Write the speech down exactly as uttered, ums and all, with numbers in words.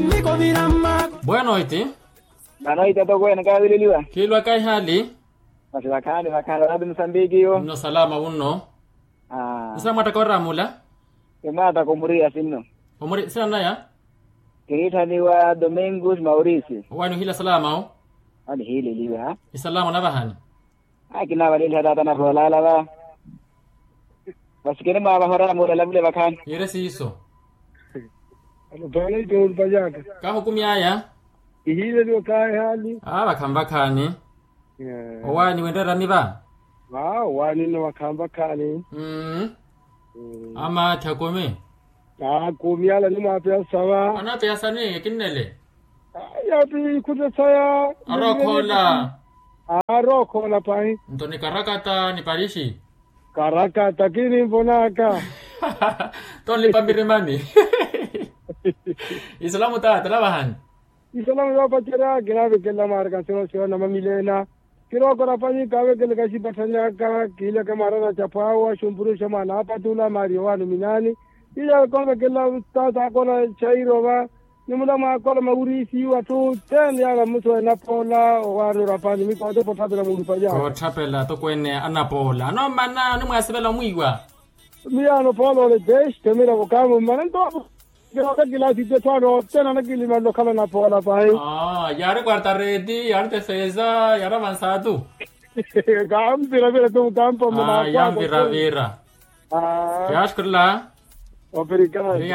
Boa noite. Boa noite, atokweene, kaawileliwa? Khiilwa kaihali. Masi vakhaani vakhaani, raati musambiki yo. Nno salama wunno. Nsa mwattaka oraamula? Kimwattaka omuriya sinno. Omuri sina naya? Kiniitthaniwa domingos maurice. Owaani ohiila salama o? Anihiileliwa. Isalama onavahani? Akinavaleliha taata naroolala va. Vasikeni mwaavaha oraamula lavule vakhaani. Yire siiso. Alopana itoolupanyaka. Kahukumyaya. Ihiileliwa kaahali. Aa vakhanvakhaani. Owaani winreerani va? Aa owaani nno vakhanvakhaani. Amaathi akumi. Aa kumi ala nimwaapeyasa va. Anaapeyasani ekinnele? Yaapi ikhutte saya. Arookhoola. Arookhoola pahi. Nto ni karakata ni parixi. Karakata kininvonaka. Tonlipa mirimani. Isalamu taata navahani. Isalamu yoopacerya kinaavekelela mwaaraka nsiwa siwa na mamilena. Kirookora panyi kaavekeleka xipatthanyaka kiileke mwaarana caphwaawa xumpuru xa mwaana aapatula maari yowaani ominaani. Iya koovekelela taata akona xairova. Nimula mwaakola mawuriisiwa atthu tene yaala mmusuwa enapoola owaani orapani mikoote pottapela muulupanyaka. Kootthapela atokweene anapoola anoomana animwaasivela omwiiwa. Miyaano phoolo ole dexi temira vokaamu mmana nto. Kilaasi ttetthwaano ottena anakilimanle okhala anapoola pahi. Yaari quartareti yaari tefeza yaari avansaatu. Kaampiravira tu mukampa mmana. Yampiravira. Yaaxukurela. Operikani. Operikani.